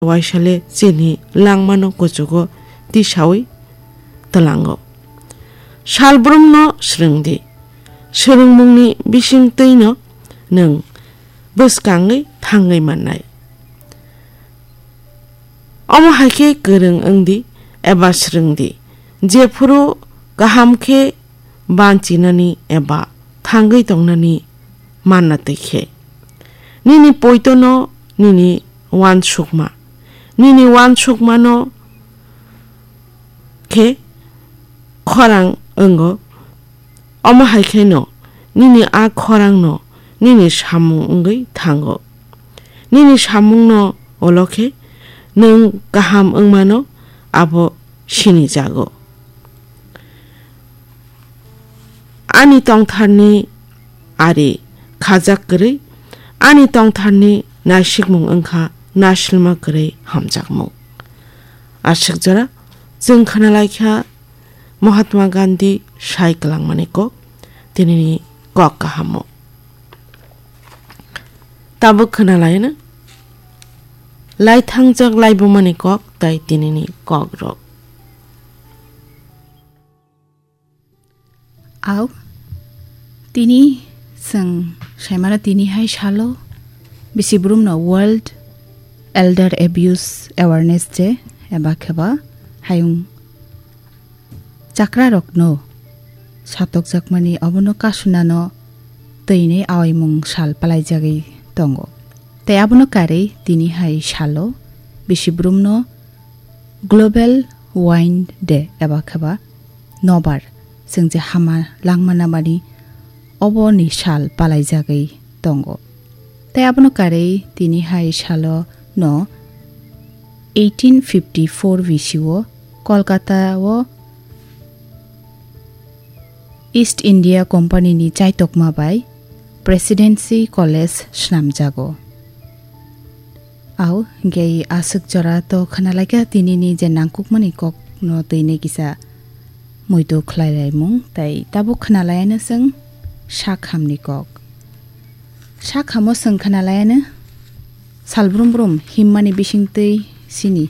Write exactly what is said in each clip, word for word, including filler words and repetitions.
waisale chini langmano kuchugo tisawi twlango. Salbrumno swrwngdi, swrwngmungni bisingtwino nwng bwskangwi thangwi mannai. Omo hai khe kwrwng wngdi eba swrwngdi, jephuru kaham khe banchinani eba thangwi tongnani manna twi khe. Nini poitono nini uansukma, nini uansukmano khe khorang wngo. Omo hai kheno nini a khorangno nini samung wngwi thango. Nini samungno ulo khe nwng kaham wngmano abo sinijago. Ani tongtharni ari khajak kwrwi, ani tongtharni naisikmung wngkha nasilma kwrwi hamjakmung. Aswk jora chwng khwnalaikha Mahatma Gandhi sai kwlangmani kok, tinini kok kahamo. Tabuk khwnalaino laithangjak laibumani kok tai tinini kokrok. Au, tini chwng saimano tini hai salo bisi brumno World Elder Abuse Awareness Day eba kheba hayung chakrarokno satokjakmani obono kasunano twini awaimung sal palaijagwi tongo. Tei abono karwi tini hai salo bisi brumno Global Wine Day eba kheba nobar chwng je hama langma namani oboni sal palaijagwi tongo. Tei abono karwi tini hai salo no eighteen fifty-four B C o Kolkata o East India Company ni chaitokma bai Presidency College swnamjago. Au, hingke aswk jora to khwnalaikha tinini je nangkukmani kokno twini kisa muitu khlailaimung, tai tabuk khwnalaiano chwng sak hamni kok. Sak hamo chwng khwnalaiano salbrum brum himmani bisingtwi chini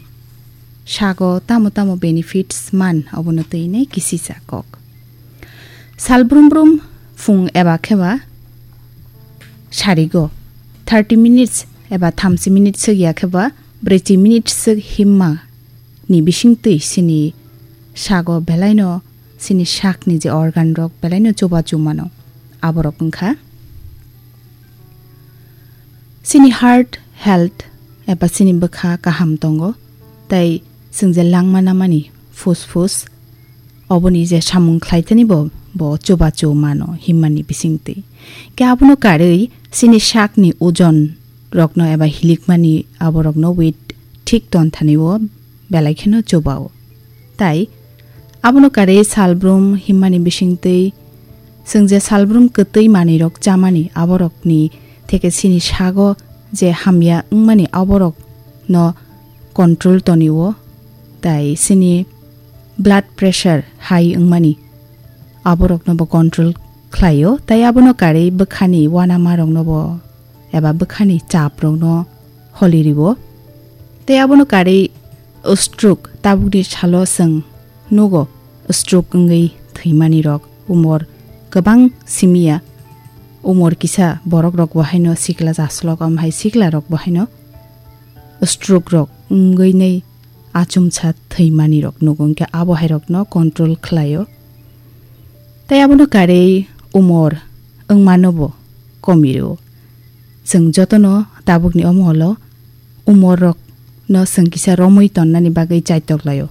sago tamo tamo benefits man, obono twini kisisa kok. Salbrum brum phung eba kheba sarigo thirty minutes eba thamchi minutes swk ya kheba brwichi minutes swk himma ni bisingtwi chini sago belaino chini sakni je organ rok belaino chubachu mano, aborok wngkha chini heart health eba chini bwkha kaham tongo, tei chwng je langma namani phus phus oboni je samung khlaithani bo, bo chubachu mano himmani bisingtwi. Khe abono karwi chini sakni ojon rokno eba hilikmani aborokno weight thik tonthani o belai kheno chubao. Tai abono karwi salbrum himmani bisingtwi chwng je salbrum kwtwi manwirok chamani aborokni theke chini sago je hamya wngmani aborokno control tonio, tai chini blood pressure high wngmani aborokno bo control khlaio, tai abono karwi bwkhani uanamarokno bo eba bwkhani chaprokno holi rio. Tei abono karwi stroke, tabukni salo chwng nugo stroke wngwi thwimanirok, umor kwbang simiya, umor kisa borokrok bo haino sikla jaslok, omo hai siklarok bo haino stroke rok wngwi nai achomsa thwimanirok nugo, hwnkhe abo hairokno control khlaio. Tei abono karwi umor wngmano bo komi rwo. Chwng jotono tabukni omo holo umor rokno chwng kisa romwi tonnani bagwi chaitok laio.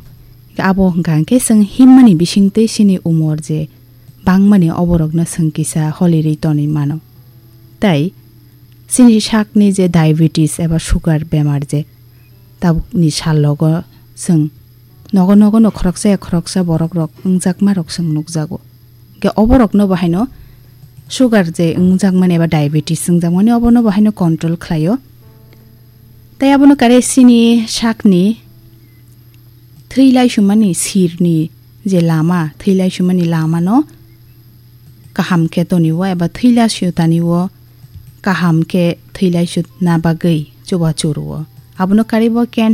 Abo hwnkha hwnkhe chwng himmani bisingtwi chini umor je bangmani oborokno chwng kisa holirwi tonwi mano. Tai chini sakni je diabetes eba sugar bemar je tabukni salogo chwng nogo nogo no khoroksa ya khoroksa borok rok wngjakma rok chwng nukjago. Hwnkhe oborokno bo haino sugar je wngjakmani eba diabetes wngjakmani obono bo haino control khlaio. Tei abono kare chini sakni thwi laisumani sirni je lama, thwi laisumani lamano kaham khe tonio eba thwi laisutani o kaham khe thwi laisutna bagwi chubachu rwo. Abono karwi bo cancer